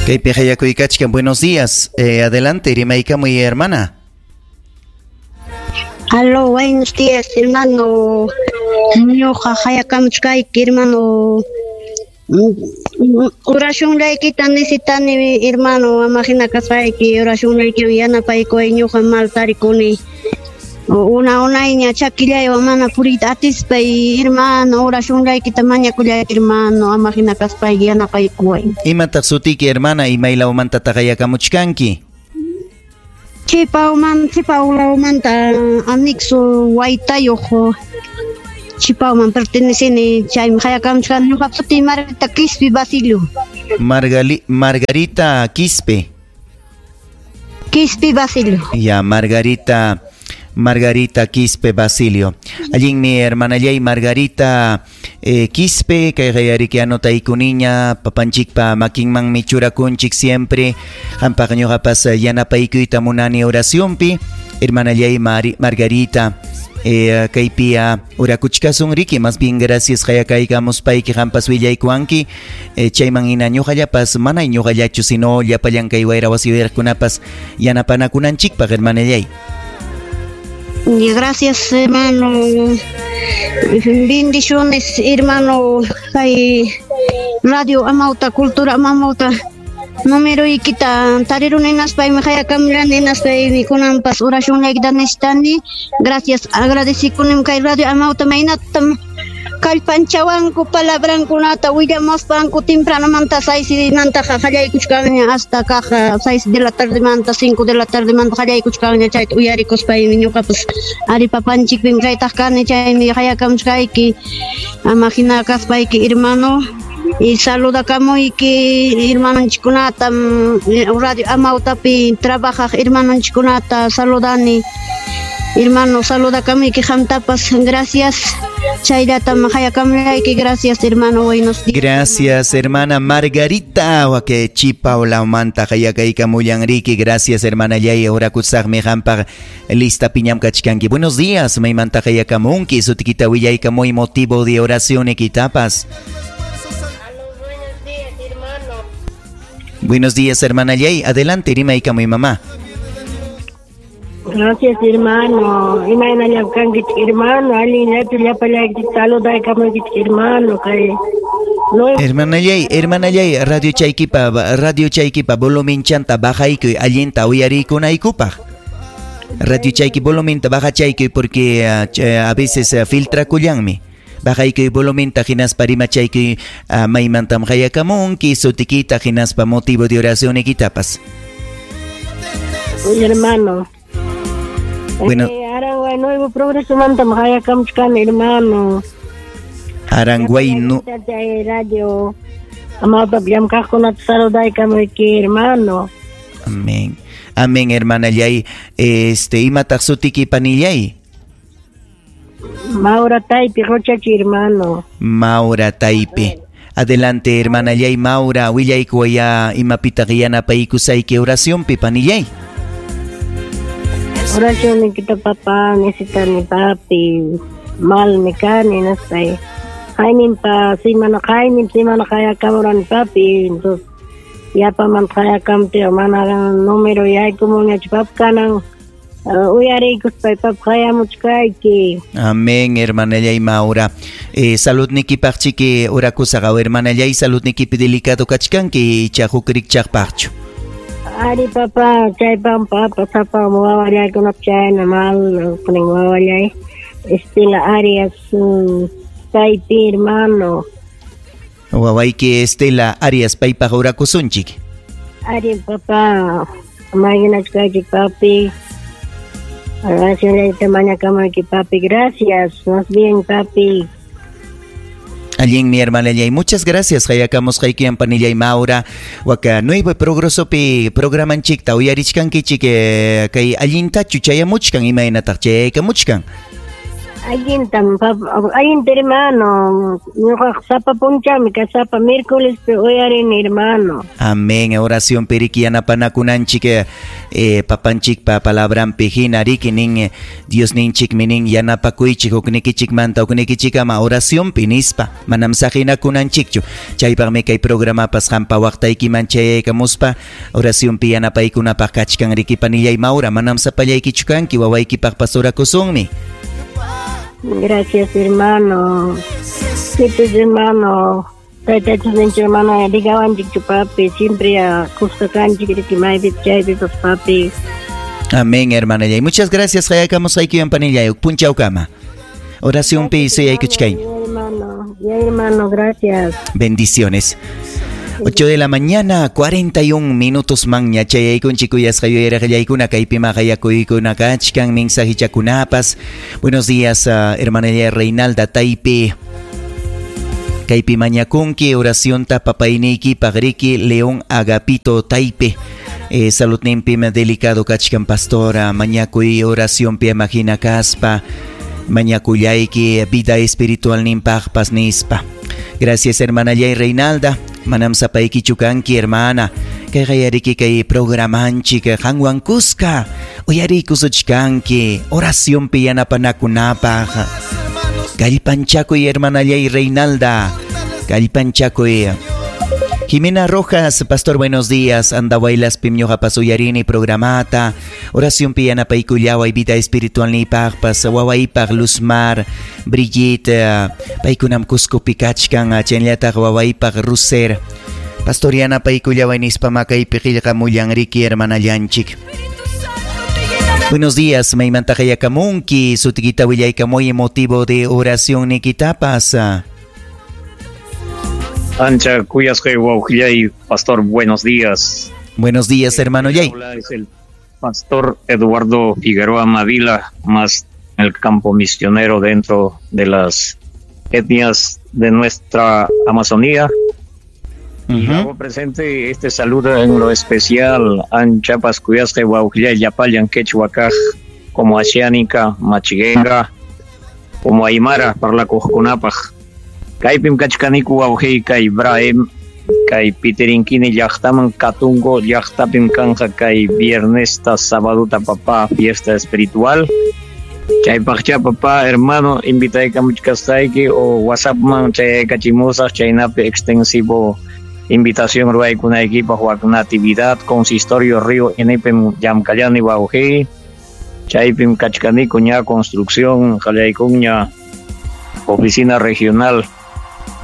Kaypi qayakuykachkan. Buenos días. Adelante, rimaykamuy, hermana. Aló, buenos días, hermano. Ñuqa qayakamuchkayki, hermano. Oracionlaykita necesitani, hermano. Ama hina kaspayki, oracionlaykiwan yanapaykuway, ñuqa mal tarikuni. Una unayña chakillaywan mana puriyta atispay, hermano, oracionlaykita mañakullayki, hermano, ama hina kaspayki yanapaykuway. Imataq sutiki, hermana, imaylawmantataq qayakamuchkanki? Chipawman, Chipawlawmanta anexo Waytayuq Chipawman perteneceni, chaymi qayakamuchkani ñuqapa sutiy Margarita Quispe Basilio. Margarita Quispe. Quispe Basilio. Ya, Margarita Quispe Basilio. Allinmi, hermanallay Margarita Quispe, kayqa yariki anotayku niña, papanchikpa makinmanmi churakunchik siempre. Qampaq ñuqapas yanapaykuyta munani oracionpi. Hermanallay Margarita, kaypi orakuchkasun riki, más bien gracias qayakaykamuspayki qampas willaykuwanki. Chayman hina ñuqallapas, mana ñuqallachu, sino llapallan kay wayra wasi uyariqkunapas yanapanakunanchikpaq, hermanallay. Gracias, hermano. Bendiciones, hermano. Kay Radio Amauta, Cultura Amauta. Numeroykita tariruni hinaspaymi qayakamulani hinaspaymi kunanpas oracionlaykita necesitani. Gracias, agradecikunim kay Radio Amauta maynatam kallpanchawanku palabrankunata willamuspanku tempranomanta 6 mantaqa qallaykuchkanña hasta kaq 6 de la tardemanta 5 de la tardemanta qallaykuchkanña chayta uyarikuspaymi ñuqapas ari papanchikpim kaytaq kani chaymi qayakamuchkayki ama hina kaspayki, hermano, y saludakamuyki hermanonchikkunata, Radio Amautapi trabajaq hermanonchikkunata saludani, hermano, saludakamuyki qamtapas. Gracias, chayllatam qayakamulayki. Gracias, hermano, buenos días. Gracias, hermana Margarita, wake Chipawlawmanta qayakaykamullanriki. Gracias, hermanallay, orakusaqmi qampaq, lista piñam kachkanki. Buenos días, maymanta qayakamunki, sutikita willaykamuy, motivo de oración ikitapas. Buenos días, hermano. Buenos días, hermanallay. Adelante, rimaykamuy, mamá. Gracias, hermano. Imaynallam kankichik, hermano. Allinllachu llapallaykichik saludaykamuykichik, hermano. Kay Hermanallay, hermanallay, radio chaykipa volumenchanta bajaykuy allinta uyarikunaykupaq. Radio chayki volumenta bajachaykuy porque a veces filtrakullanmi. Bajaykuy volumenta hinaspa rimachaykuy maymantam qayakamunki, sutikita hinaspa motivo de oración ikitapas. Hermano. Bueno. Aranguay Nuevo Progreso mantam qayakamuchkani, hermano. Aranguay no. Chay radio Amauta llamkaqkunata saludaykamuyki, hermano. Amén. Amén, hermanallay. Imataq sutiki, panillay? Maura Taipi, Rochachi, hermano. Maura Taipe. Adelante, hermanallay Maura, willaykuwaya imapitaq yanapaykusayki oracionpi, panillay. Oracionnikita, papá, necesitani, papi. Malmi kani, naspay. Qayninpa simana, qaynin simana qayakamurani, papi. Entonces, yapaman qayakamtiq mana número yaykumunñachu, papi, kanan uyariykuspay, papi, qayamuchkayki. Amén, hermanallay Maura. Saludnikipaqchiki orakusaqa, hermanallay, saludnikipi delicado kachkanki icha huk rikchaqpaqchu? Ari, papá, chaypam, papa, sapam wawallaykunap chayna mal kunin wawallay Estela Arias Taipi, hermano. Wawayki Estela Arias paypaq orakusunchik. Ari, papá, mayinachkaychik, papi. Oracionlayta mañakamayki, papi. Gracias, más bien, papi. Allinmi, hermanallay. Muchas gracias. Qayakamusqaykiwan, panillay Maura. Waka Nuevo Progresopi programanchikta uyarichkankichik, kay allintachu chayamuchkan, imaynataq chayaykamuchkan? Allintam, allinta hermano. Ñuqaqa sapa punchawmi ka sapa miércolespi uyarini hermano. Amén. Oración periki yanapanakunanchik papanchikpa palabranpi hina riki nin Dios ninchikmi nin yanapakuychik huknikichikmanta huknikichikama oracionpi nispa manam saqinakunanchikchu. Chaypaqmi kay programapas qampa waqtaykiman chayaykamuspa oracionpi yanapaykunapaq kachkan riki panillay Maura, manam sapallaykichu kanki wawaykipaqpas orakusunmi. Gracias, hermano. Sí, pues, hermano. Tayta Diosninchik mana rigawanchikchu, papi. Siempre kuska kanchik riki maypi chaypipas, papi. Amén, hermana. Y muchas gracias, hayakamusqaykiwan panillay. Punchawkama. Oración pi suyaykuchkay. Hermano, ya, hermano, gracias. Bendiciones. 8 de la mañana, 41 minutos manña chayaykunchik kuyasqa yuyaraqllaykuna kaypi maqayakuykuna kachkan mensajichakunapas. Buenos días, hermana Reinalda Taipe. Kaypi mañakunki oracionta papayniykipaq riki León Agapito Taipe. Saludninpim delicado kachkan pastora, mañakuy oracionpi amahina kaspa, mañakullayki vida espiritual ninpaqpas nispa. Gracias, hermana Yay Reinalda. Manam sapaykichu kanki, hermana. Kayqa yariki kay programanchik qanwan kuska. Uyariykusuchkanki oracionpi yanapanakunapaq. Kallpanchakuy, hermana Yay Reinalda. Kallpanchakuy. Jimena Rojas, pastor, buenos días. Andahuaylaspim ñuqapas uyarini programata. Oración pi yanapaykullaway vida espiritual niypaqpas, wawaypaq Luzmar, Brigitte, paykunam Cuscopi kachkan, chaynallataq wawaypaq Ruser. Pastor yanapaykullaway nispa makaypi qillqamullan riki hermanallanchik. Buenos días, maymanta qayakamunki, sutikita willaykamuy motivo de oración nikitapas. Ancha kuyasqay wawqillay, pastor, buenos días. Buenos días, hermano Yay. Hola, es el pastor Eduardo Figueroa Mavila, más en el campo misionero dentro de las etnias de nuestra Amazonía. Y hago presente este saludo en lo especial anchapas kuyasqay wawqillay llapallan quechua kaq como Asháninka, Machiguenga, como Aymara parlakuqkunapaq. Kaypim kachkaniku wawqiy kay Ibrahim, kay Pitirinkini llaqtaman Katungo llaqtapim kanja kay viernesta sabaduta papá fiesta espiritual. Chaypaqcha papá hermano invitaykamuchkasqayki o WhatsAppman chayaykachimusaq chaynapi extensivo invitación ruwaykunaykipaq wak natividad consistorio Río Enepim llamkallani wawqiy. Chaypim kachkaniku ña construcción qallaykunña oficina regional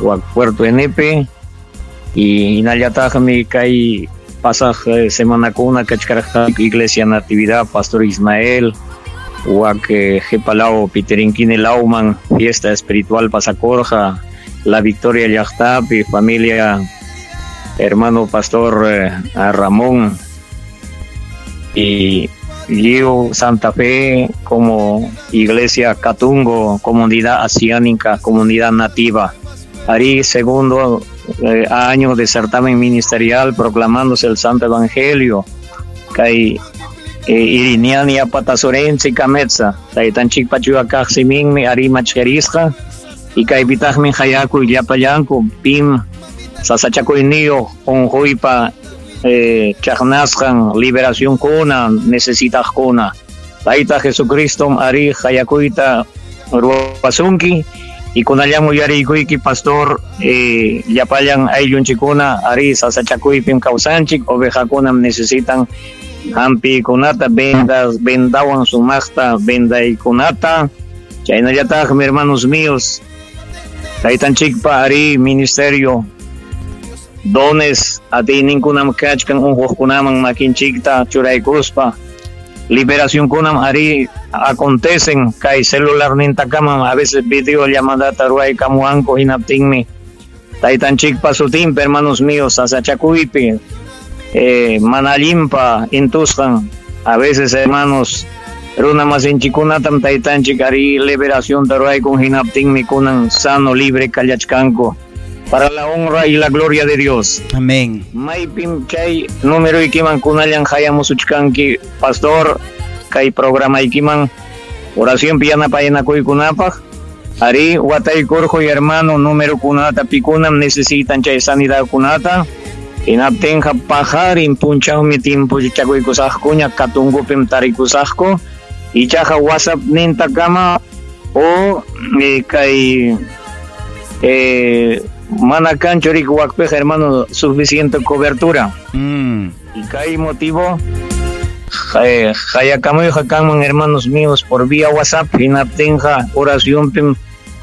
wak Puerto Enepe y hinallataqmi kay pasaq semanakuna kachkarqa Iglesia Natividad Pastor Ismael wak Jepalao Piterinquine Lauman fiesta espiritual pasakorja La Victoria llaqtapi familia hermano Pastor Ramón y Lliw Santa Fe como Iglesia Catungo, comunidad asiánica, comunidad nativa. Ari segundo año de certamen ministerial proclamándose el Santo Evangelio. Kay Iriniani apatasorense kametsa. Taytanchik pachua kaqsiminmi ari machkerisqa. Y kay pitaqmi hayaku llapallanku pim sasachakuyniyuq unquypa chaqnasqan liberación kuna necesitaqkuna. Tayta Jesucristo ari hayakuyta ruwasunki. Y kunallan uyarikuyki pastor llapallan ayllunchikuna ari sasachakuypim kawsanchik ovejakunam necesitan hampiykunata vendas vendawan sumaqta vendaykunata. Chaynallataqmi hermanos míos taytanchikpa ari ministerio dones atiyninkunam kachkan unquqkunaman makinchikta churaykuspa liberación kunam ari acontecen kay celular nintakamam a veces video llamadata ruwaykamuwanku hinaptinmi taytanchikpa sutinpi hermanos míos sasachakuypi mana allinpa intusqan a veces hermanos runa masinchikunatam taytanchik ari liberación ruwaykun hinaptinmi kunan sano libre kallachkanku para la honra y la gloria de Dios. Amén. Maypim chay número ikiman kunallan hayamusuchkanki pastor kay programa ikiman Oracionpi yanapayanakuykunapaq. Ari wataykurquy hermano numerokunata pikunam necesitan chay sanidadkunata. Hinaptinqa paqarin punchawmi timpuchakuykusaqkuña katungupim tarikusaqku. Ichaqa WhatsApp nintakama o kay mana kanchu riki wakpiqa hermano suficiente cobertura. Y kay motivo qayakamuyqa kanman hermanos míos por vía WhatsApp hinaptinqa oracionpim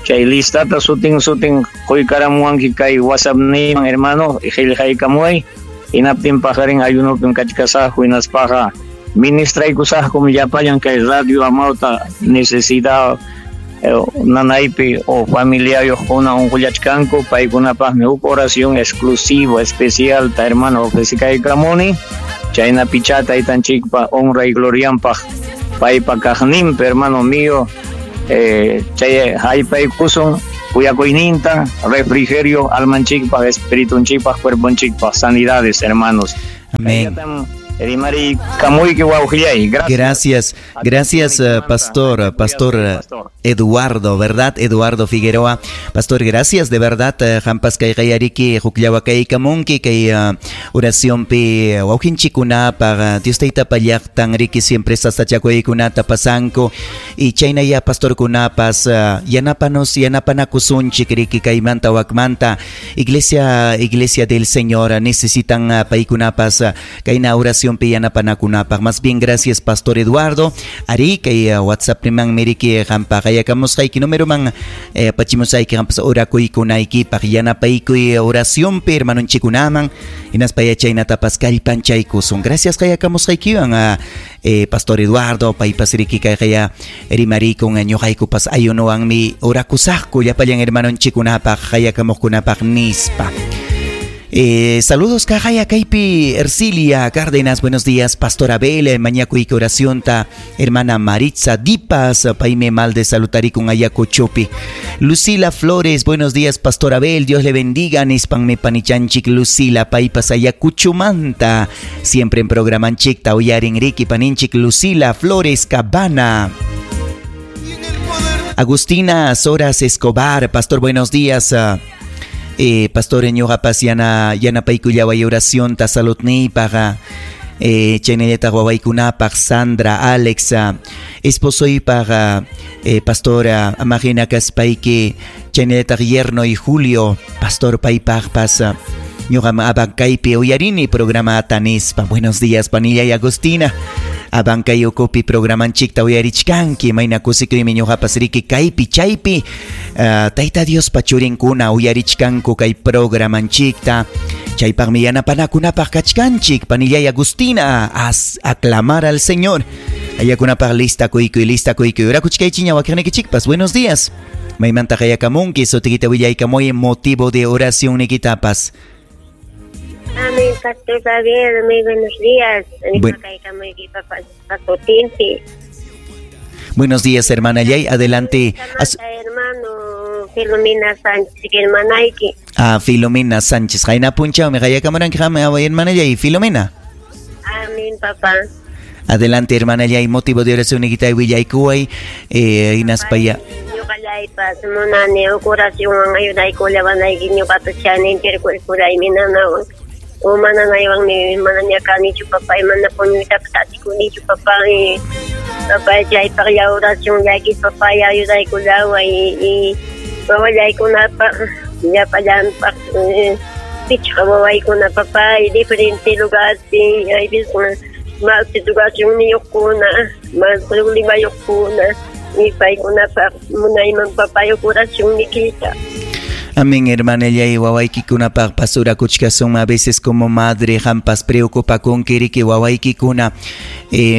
chay listata sutin sutin quykaramuwanki kay WhatsApp niman hermano qillqaykamuway hinaptin paqarin ayunopim kachkasaqku hinaspaqa ministraykusaqkum llapallan kay radio Amauta necesidad nanaypi o familiayuqkuna unqullachkanku paykunapaqmi huk oración exclusivo especial ta hermano ofrecikaykamuni chaynapichá taytanchikpa honra y glorianpaq paypa kaqninpi hermano mío chay haypaykusun kuyakuyninta refrigerio almanchikpaq espiritunchikpaq cuerponchikpaq sanidades hermanos. Amén. Rimari kamuyki wawqillay. Gracias. Gracias, pastor, pastor Eduardo, ¿verdad? Eduardo Figueroa. Pastor, gracias, de verdad. Hampas kay kayariki, huklawakaykamunki, kay oracionpi wawqinchikunapaq, Dios tayta pallaqtan riki siempre sasachakuykunata pasanku. Y chaynaya pastorkunapas, yanapanos, yanapanakusunchik riki kaymanta wakmanta. Iglesia, Iglesia del Señor, necesitan paykunapas kayna oración pi yanapanakunapaq. Más bien gracias, Pastor Eduardo. Ari kay WhatsApp niman miriki hampa qayakamusqayki número man apachimusayki hampas orakuykunaykipaq yanapaykuy oracionpi hermanonchikunaman hinaspa yachaynatapas kallpanchaykusun. Gracias qayakamusqaykiwan Pastor Eduardo paypas riki kay rimarikun ñuqaykupas ayunowanmi orakusaqku llapallan hermanonchikunapaq qayakamuqkunapaq nispa. Saludos Cajaya Kaipi, Ercilia Cárdenas, buenos días, Pastor Abel, mañakuyki oracionta, hermana Maritza Dipas, Paime Malde salutarikun Ayacuchopi. Lucila Flores, buenos días, Pastor Abel, Dios le bendiga, nispanme panichanchik Lucila, paypas Ayacuchumanta, siempre en programanchik, uyarin Ricky Paninchik, Lucila Flores Cabana. Agustina Soras Escobar, Pastor, buenos días. Pastor ñuqapas yana yanapaykullaway oracionta saludniypaq chaynallataq wawaykunapaq Sandra, Alex, esposoypaq pastora amajina kaspayki chaynallataq yerno y Julio, pastor paypaqpas ñuqam Abancaypi uyarini programata nispa. Buenos días panilla y Agustina. Abancay ukupi programanchikta uyarichkanki mayna kusikuymi ñuqapas riki kaypi chaypi Tayta Diospa churinkuna uyarichkanku kay programanchikta chaypaqmi yanapanakunapaq kachkanchik panillay Agustina aclamar al Señor ayakunapaq lista kuykuy lista kuykuy orakuchkaychiña wakiqnikichikpas. Buenos días maymanta qayakamunki sutikita willaykamuy motivo de oración nikitapas. Amén, Pastor Javier, muy buenos días. Buenos días, hermana Yay. Adelante. Hermano Filomena Sánchez, hermanaiki. Ah, Filomena Sánchez. Jaina punchao, me hermana Yay. Filomena. Amén, papá. Adelante, hermana Yay. Motivo de oración, Nikita Willaykuay, Inaspaya. Ñuqallaypas munani oracionwan ayudaykullawanayki ñuqata chani cuerpuraymi nanawan. O mananaywanmi manaña kanichu papá mana puñuytapas atikunichu papá papá chaypaqlla oracionllayki papá ayudaykullaway y wawallaykunapaq llapallanpaq pichqa wawaykuna papá y diferente lugarpi ayveces mal situacionniyuqkuna mal problemayuqkuna y paykunapaq munayman papá oracionnikita. Amén, hermana Yay, wawaykikunapaq pasurakuchkasun a veces como madre hampas preocupakunki riki wawaykikuna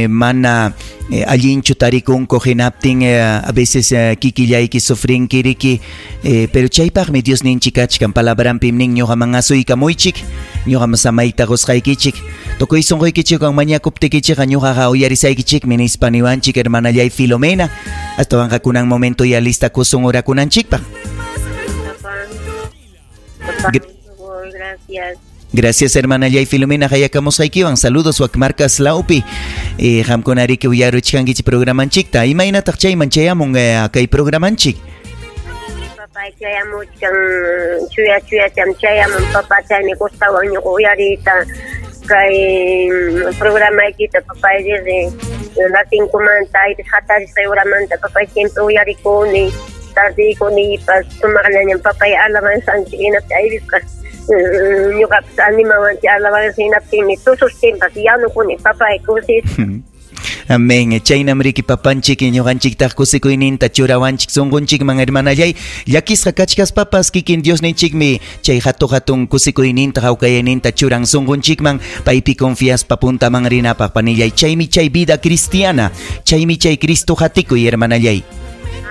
mana allinchu tarikunku hinaptin a veces kikillayki sufrinki riki pero chaypaqmi Dios ninchik kachkan palabranpim nin ñuqaman asuykamuychik ñuqam samayta qusqaykichik tukuy sunquykichikwan mañakuptikichikqa ñuqaqa uyarisaykichikmi nispa niwanchik hermana Yay Filomena astawanqa kunan momento ya lista kusun orakunanchikpaq. Gracias. Gracias, hermana Yay Filomena hayakamusqaykiwan. Saludos wakmarkas laupi. Qamkunariki uyaruchkankichik programanchikta. Imaynataq chayman chayamun kay programanchik? Papay chayamuchkan, chuya chuyacham chayamun papá, chaymi gustawan ñuqa uyariyta kay programaykita papay, desde las 5manta aypis hatarisqay horamanta papay siempre uyarikuni, tardiykunipas sumaqllañam papay alabanzanchik, hinaptin aypisqa ñuqapas animawanchik alabanza, hinaptinmi tusustinpas yanukuni papay kusis. Amén. Chaynam riki papanchik ñuqanchiktaq kusikuyninta churawanchik sunqunchikman, hermanallay. Llakisqa kachkaspapas kikin Diosninchikmi chay hatu hatun kusikuyninta hawkayayninta churan sunqunchikman, paypi confiaspa puntaman rinapaq, panillay. Chaymi chay vida cristiana, chaymi chay Cristo hatikuy, hermanallay.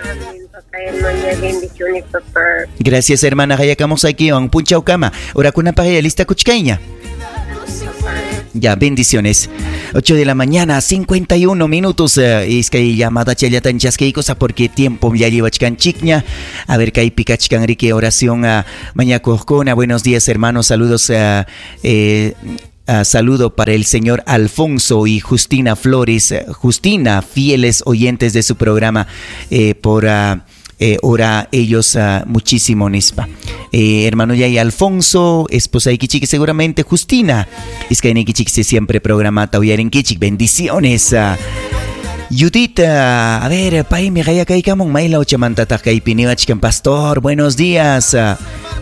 Amén, papá, hermana, bendiciones, papá. Gracias, hermana. Hayakamusaykiwan punchawkama. Orakunapaq ya lista kuchkayña. Ya, bendiciones. 8 de la mañana, 51 minutos. Iskay llamada chayllatan chaskiykusa porque tiempo ya llevachkanchikña. A ver, kaypi kachkan riki oración mañakuqkuna. Buenos días, hermanos. Saludos. Saludo para el señor Alfonso y Justina Flores. Justina, fieles oyentes de su programa, por ora ellos muchísimo nispa. Hermano Yay Alfonso, esposa Ikichik, seguramente Justina. Iskaynikichik siempre programa Tauyarenkichik. Bendiciones. Judith, a ver, paymi qayakaykamun maylawchamantataq kaypi niwachkan, pastor, buenos días.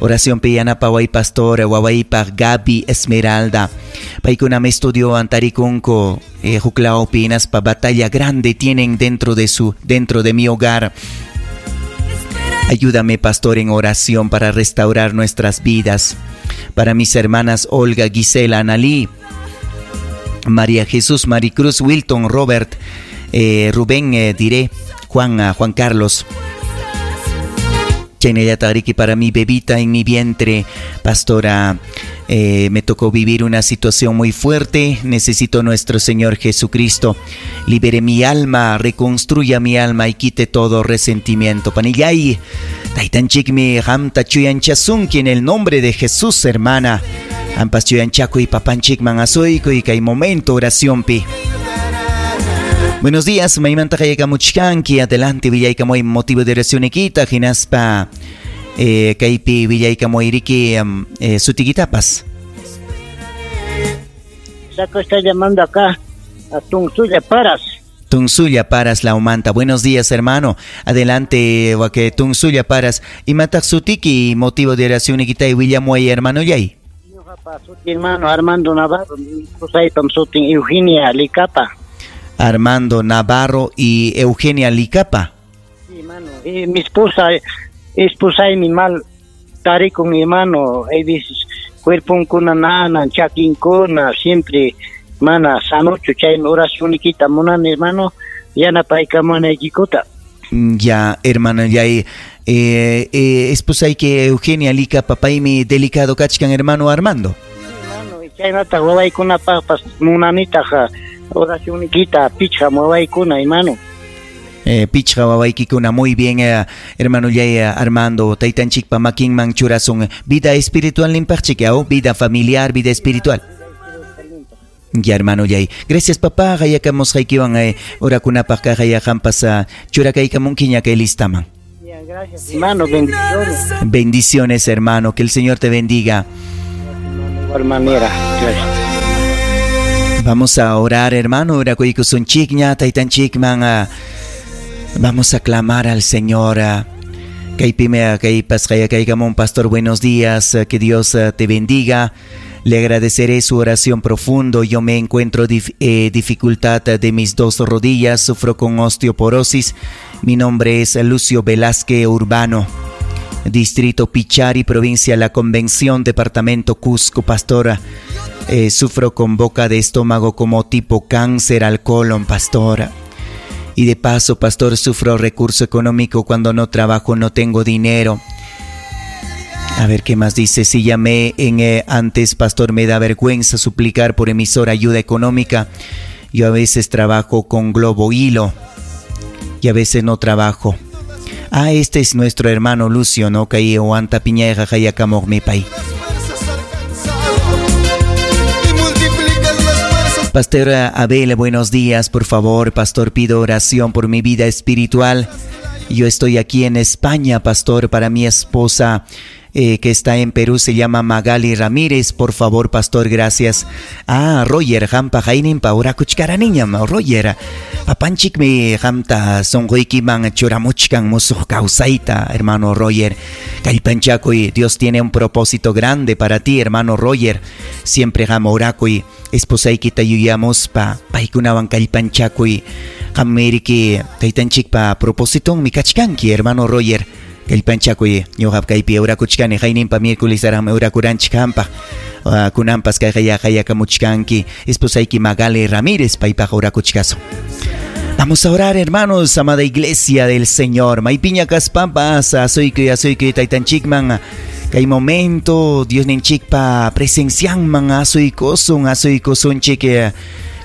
Oración piyanapaway, pastor, wawaypaq Gaby Esmeralda. Paykunam estudio antarikunku, huklawpi hinaspa batalla grande tienen dentro de mi hogar. Ayúdame, pastor, en oración para restaurar nuestras vidas. Para mis hermanas Olga, Gisela, Analí, María Jesús, Maricruz, Wilton, Robert, Rubén, diré, Juan, Juan Carlos. Chaynallata riki para mi bebita en mi vientre, pastora, me tocó vivir una situación muy fuerte. Necesito nuestro Señor Jesucristo. Libere mi alma, reconstruya mi alma y quite todo resentimiento. Panillay, taytanchikmi qamta chuyanchasunki en el nombre de Jesús, hermana. Ampas chuyanchakuy papanchikman asuykuy kay momento oraciónpi. Buenos días, maymanta qayakamuchkanki, adelante willaykamuy motivo de oración ikita, hinaspa kaypi willaykamuy riki sutikitapas. Saco está llamando acá a Tunsulla Paras. Tunsulla Paras Laumanta. Buenos días, hermano. Adelante, wake Tunsulla Paras. Imataq sutiki motivo de oración ikita y willamuy, hermano yay. Suti, hermano Armando Navarro, qusaypam sutin Eugenia Licapa. Armando Navarro y Eugenia Licapa. Sí, hermano. Y mi esposa mi mal tarikun, hermano. Hay veces cuerponkuna nanan, chakinkuna, siempre mana sanochu, chaymi oración ikita munani, hermano, yanapaykamunaykikuta. Ya, hermano, ya esposa hay que Eugenia Licapa, paymi delicado kachkan, hermano Armando. Hermano, chaynata wawaykunapaqpas munanitaq oración ikita pichqa wawaykuna, hermano. Pichqa wawaykikuna, muy bien, hermano yay Armando, taytanchikpa makinman churasun vida espiritual limpaqchik, vida familiar, vida espiritual. Ya, hermano yay. Gracias, papá, hayakamusqaykiwan orakunapaq kaq hayaqampas churakaykamunkiña kay listaman. Ya, gracias, hermano, bendiciones. Bendiciones, hermano, que el Señor te bendiga. De igual manera, gracias. Vamos a orar, hermano, orakuykusunchikña, taytanchikman, vamos a clamar al Señor. Kaypime, kaypas, kayakamun, pastor, buenos días, que Dios te bendiga. Le agradeceré su oración profundo. Yo me encuentro dificultad de mis dos rodillas, sufro con osteoporosis. Mi nombre es Lucio Velázquez Urbano, distrito Pichari, provincia La Convención, departamento Cusco, pastora. Sufro con boca de estómago como tipo cáncer al colon, pastora. Y de paso, pastor, sufro recurso económico cuando no trabajo, no tengo dinero. A ver, ¿qué más dice? Si llamé en antes, pastor, me da vergüenza suplicar por emisora ayuda económica. Yo a veces trabajo con globo hilo y a veces no trabajo. Ah, este es nuestro hermano Lucio, ¿no? Kay Oanta Piñeja, Hayakamog, mi pay. Pastor Abel, buenos días, por favor, pastor, pido oración por mi vida espiritual. Yo estoy aquí en España, pastor, para mi esposa que está en Perú, se llama Magali Ramírez. Por favor, pastor, gracias. Ah, Roger, hampa hayninpa orakuchkaraniñam, Roger. Papanchikmi hamta sonquykiman churamuchkan musuq kawsayta, hermano Roger. Kallpanchakuy, Dios tiene un propósito grande para ti, hermano Roger. Siempre ham orakuy, esposaykita yuyamuspa, paykunawan kallpanchakuy. Qammiriki taytanchikpa propósitonmi kachkanki, hermano Roger. Kallpanchakuy, ñuqap kaypi orakuchkani, hayninpa miércoles araqmi orakuranchik hampaq. Kunanpas kay hayakamuchkanki, esposayki Magali Ramírez paypaq orakuchkasun. Vamos a orar, hermanos, amada iglesia del Señor. Maypiña kaspampas, asuykuy, asuykuy, taytanchikman. Kay momento, Dios ninchikpa presencianman, asuykusun, asuykusunchik.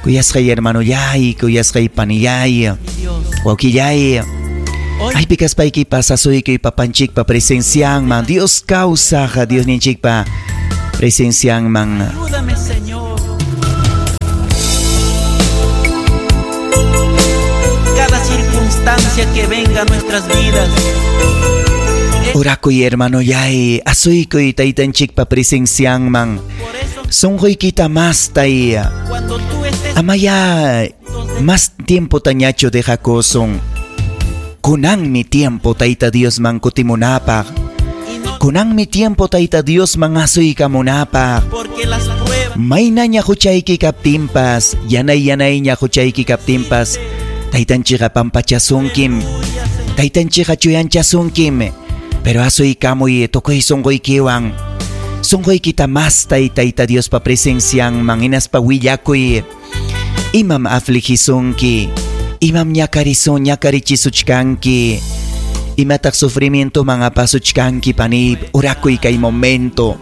Kuyasqay hermano yay, kuyasqay panillay, wawqillay. Aypi kaspaykipas asuykuy papanchikpa presencianman. Dios kawsaq, Dios ninchikpa presencianman. Ayúdame, Señor. Cada circunstancia que venga a nuestras vidas. Orakuy, hermano yay, asuykuy taytanchikpa presencianman. Sonqoykita mastay. Cuando tú estés Amaya, más tiempo tañacho dejakosun. Kunanmi tiempo tayta Diosman kutimunapaq. Kunanmi tiempo tayta Diosman asuykamunapaq. Porque las pruebas Maynaña huchayki kaptinpas, yanay yanayña huchayki kaptinpas, taytanchikqa pampachasunkim. Taytanchikqa chuyanchasunkim. Pero asuykamuy tukuy sunquykiwan. Sunquykita mastay tayta Diospa presencianman hinaspa willakuy. Imam afligisunki, imam ñakarisun ñakarichisuchkanki, imataq sufrimientoman apasuchkanki panip, orakuy kay momento.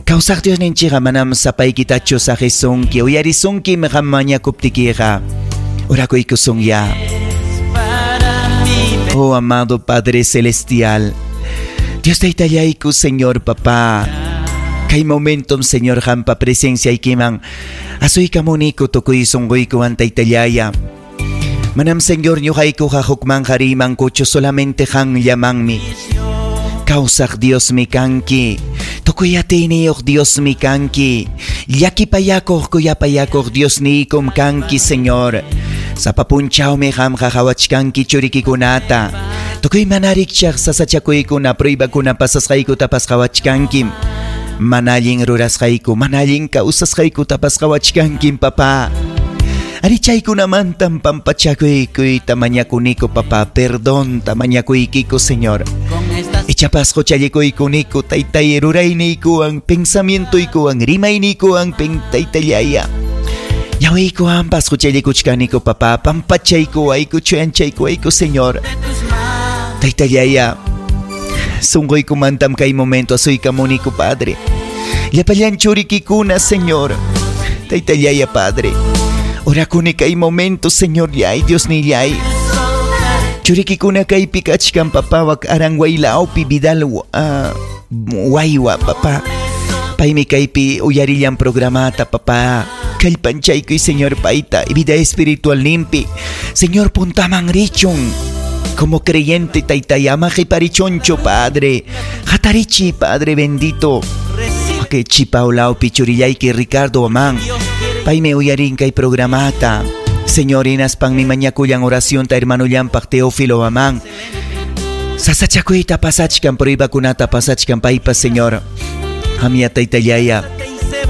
Kawsaq Diosninchikqa manam sapaykitachu saqisunki, uyarisunki qam mañakuptikiqa. Orakuykusunya. Oh amado Padre Celestial, Dios taytallayku, Señor Papá. Kay momentum, Señor, hampa presencia ikiman. Asuykamuniku tukuy sunquykuwan taytallaya. Manam, Señor, ñuqaykuqa hukman harimankuchu, solamente qanllamanmi. Kawsaq Dios mi kanki. Tukuy atiyniyuq Dios mi kanki. Llakipayakuq kuyapayakuq Dios niykum kanki, Señor. Sapa punchawmi qamqa qhawachkanki churikikunata. Tukuy mana rikchaq sasachakuykuna, pruebakuna pasasqaykutapas qhawachkankim. Mana allin rurasqayku, mana allin kawsasqaykutapas qhawachkankim, papá. Ari chaykunamantam pampachakuykuyta mañakuniku, papá. Perdonta mañakuykiku, Señor. Ichapas huchallikuykuniko, taytay rurayniykuwan, pensamientoykuwan, rimayniykuwan, taytallaya. Ñawiykuwanpas huchallikuchkaniko, papá. Pampachaykuwayku, chuyanchaykuwayku, Señor. Taytallaya, sunquykumantam kay momento asuykamuniku, Padre. Llapallan churikikuna, Señor. Taytallaya, Padre. Orakuni kay momento, Señor, yay, Dios nillay. Churikikuna kaypi kachkan, papá, wak aranguaylawpi, Vidal, waywa, papá. Paymi kaypi uyarillan programata, papá. Kallpanchaykuy, Señor, payta, vida espiritual limpi. Señor, puntaman richun. Como creyente, taytayama qhiparichunchu, Padre. Hatarichi, Padre bendito. Que chipaulawpi churillayki Ricardo Amán. Paymi uyarin kay programata. Señor, hinaspanmi mañakullan oracionta hermanollanpaq Teófilo Amán. Sasachakuyta pasachkan, pruebakunata pasachkan paypa, Señor. Hamya taytallaya.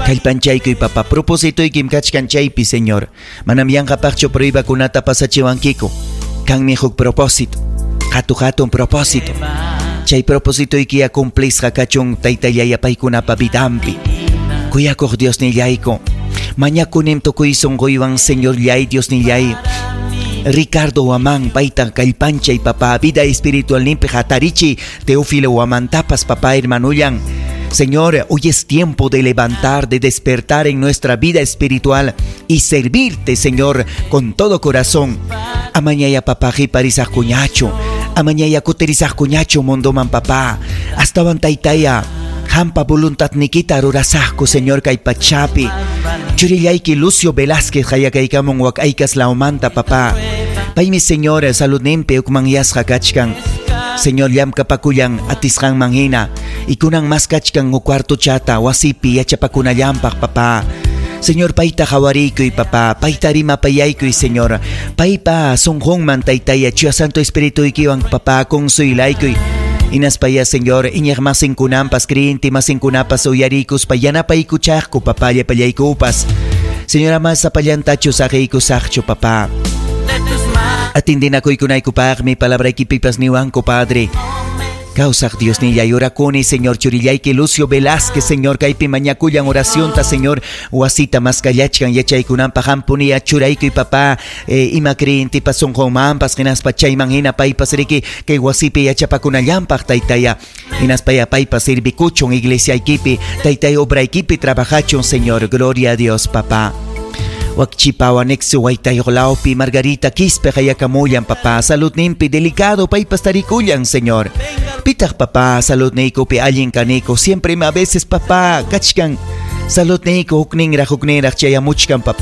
Kallpanchaykuy, papá. Propósitoykim kachkan chaypi, Señor. Manam yanqapaqchu pruebakunata pasachiwankiku. Kanmi huk propósito. Hatu hatun propósito. Chay propósitoykiya cumplisqa kachun taytallaya paykunapa vidanpi. Kuyakuq Dios nillayku. Mañakunim tukuy sunquywan, Señor llay, Dios nillay. Ricardo Huamán, payta kallpanchay, papá, vida espiritual nimpi hatarichi, Teófilo Huamantapas, papá, hermanullan. Señor, hoy es tiempo de levantar, de despertar en nuestra vida espiritual y servirte, Señor, con todo corazón. Amañaya papá, jiparisaq kuñachu. Amañaya kuterisaq kuñachu, mundoman papá. Astawan taytaya, hampa voluntad nikita rurasaqku, Señor, kay pachapi. Churillayki Lucio Velázquez qayakaykamun wak aykas lawmanta, papá. Paymi, Señor, saludninpi hukmanyasqa kachkan. Señor, llamkapakullan atisqanman hina. Ikunan mas kachkan huk cuartochata wasipi yachapakunallampaq, papá. Señor, payta qawariykuy, papá. Payta rimapayaykuy, Señor. Paypa sunqunman, taytaya, Chuya Santo Espirituykiwan, papá, consuelaykuy. Inaspaya, Señor, iñiq masinkunampas, creyente masinkunapas uyarikuspa yanapaykuchaqku, papá, llapallaykupas. Señora, mas sapallantachu saqiykusaqchu, papá. Atindinakuykunaykupaqmi palabraykipipas niwanku, Padre. Kawsaq Diosnillay, orakuni, Señor, churillayki Lucio Velázquez, Señor, kaypi mañakullan oracionta, Señor, wasita maskallachkan yachaykunanpaq hampuniya churaykuy, papá, ima creyentipas sunqunmanpas, hinaspa chayman hina paypas riki kay wasipi yachapakunallampaq, taytaya. Hinaspaya paypas servikuchun iglesiaykipi, taytay, obraykipi trabajachun, Señor. Gloria a Dios, papá. Wakchipawa nexo waytayuqlawpi Margarita Quispe qayakamullan, papá, saludninpi delicado paypas tarikullan, Señor. Pitaq, papá, saludniykupi allin kaniku? Siempre a veces, papá, kachkan saludniyku hukninraq hukninraq chayamuchkan, papá.